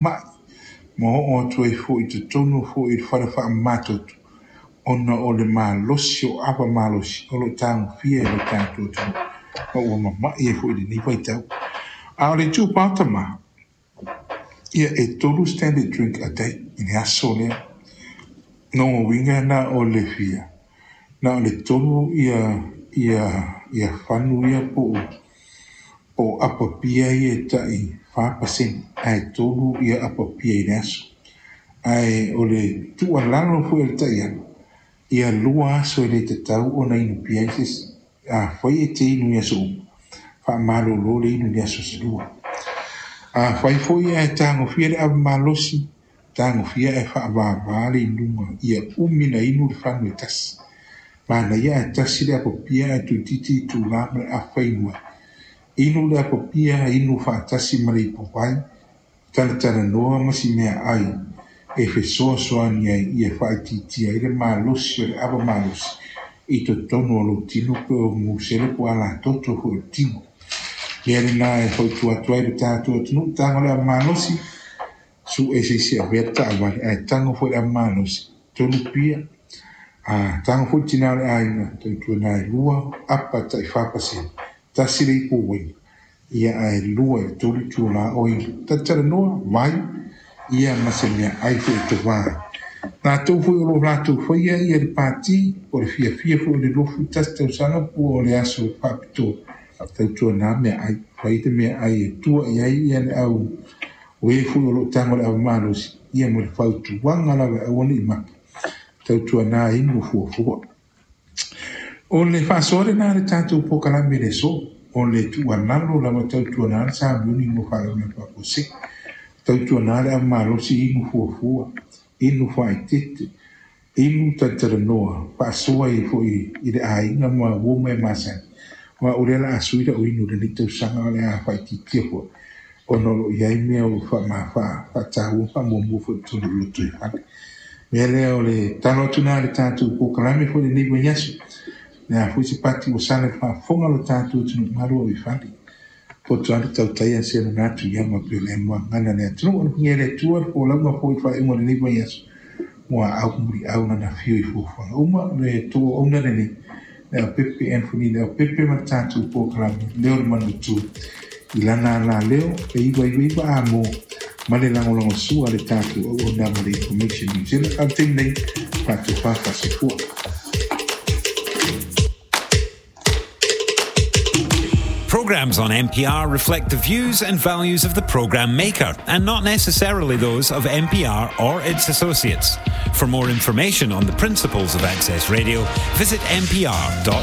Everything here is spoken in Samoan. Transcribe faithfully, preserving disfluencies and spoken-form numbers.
Ma'i ma oo atu ai foi i totonu foi i le fale faamamatoto ona o le malosi o ava malosi o lo o tagofia e lo tatou atunuu ma ua mama'i ai foi i lenei vaitau. A o le itupa o tama, ia e tolu standard drink a day i le aso lea. Lona uiga na o le fia, na o le tolu ia ia ia fanu ia po o po o apa pia ia e tai fa pasene, ae tolu ia apa pia i le aso. Ae o le tuualalo foi a le taiala, ia lua aso e le tatau ona inu pia ai se isi. Afai e te inu i aso uma, faamalolo le inu i le aso se lua. Afai foi ae tagofia le ava malosi, tagofia ae faavavā le inuga ia umi na inu le fanu e tasi. Manaia ae tasi le apa pia ae toeitiiti itulā ma le afa inu ai. Inu le apa pia, inu faatasi ma le ipuvai, talatalanoa ma si meaai e fesoasoani ai ia faaitiitia ai le malosi o le ava malosi i totonu o lou tino pe o musele po o alatoto foi o le tino. Mea lena e fautua atu ai le tatou atunuu, tago le ava malosi, su'e se isi e avea le taavale, ae tago foi le ava malosi, tolu pia, a tago foi le tina o le aiga, tautuana e lua apa tai fa pasene, tasi le ipu uaina, ia ae lua i le tolu itulā o inu. Talatalanoa, vai, ia ma se meaai foi e tovā ai. Latou foi o lo o latou faia ia le pati, po o le fiafia foi o le luafulu tasi tausaga po o le aso faapitoa, tautuana meaai, fai le meaai e tua i ai ia le au o e foi o lo o tago i le ava malosi, ia ma le fautuaga lava e aua ne i make, tautuana inu fuafua. O le faasoa lena a le tatou polokalame i le aso, o le tuualalo lava tautuana le sauniuni mo faalavelave faafuasei. Tautuana le ava malosi inu fuafua, inu faaeteete, inu talatalanoa, faasoa ai foi i le aiga ma uo ma e masani. Aua o lea o le a sui lau inu i lenei tausaga o le a faaitiitia foi ona o lo o i ai mea o faataua ma faamuamua foi i totonu o le lotoifale. Mea lea o le talo atu lena i le tatou polokalame foi i lenei vaiaso. O le a foi se pati ua sala i le faafofoga a lo tatou atunuu, malu ave i fale. Poto lava le tautai a se lona atu i ama pei o le moagana a le atunuu. Alofagia e le Atua le folauga foi i le faaiuga o lenei vaiaso ua aau muliau lana afio i fuafuaga uma. Le tou auauna lenei, Leaupepe Anthony Leaupepe ma le tatou polokalame Leo le Manutu i lana alaleo e iva iva iva a mo ma le lagolagosua a le tatou auauna ma le Information New Zealand. A o le taimi nei, faatofa faasoifua. Programs on N P R reflect the views and values of the program maker and not necessarily those of N P R or its associates. For more information on the principles of Access Radio, visit N P R dot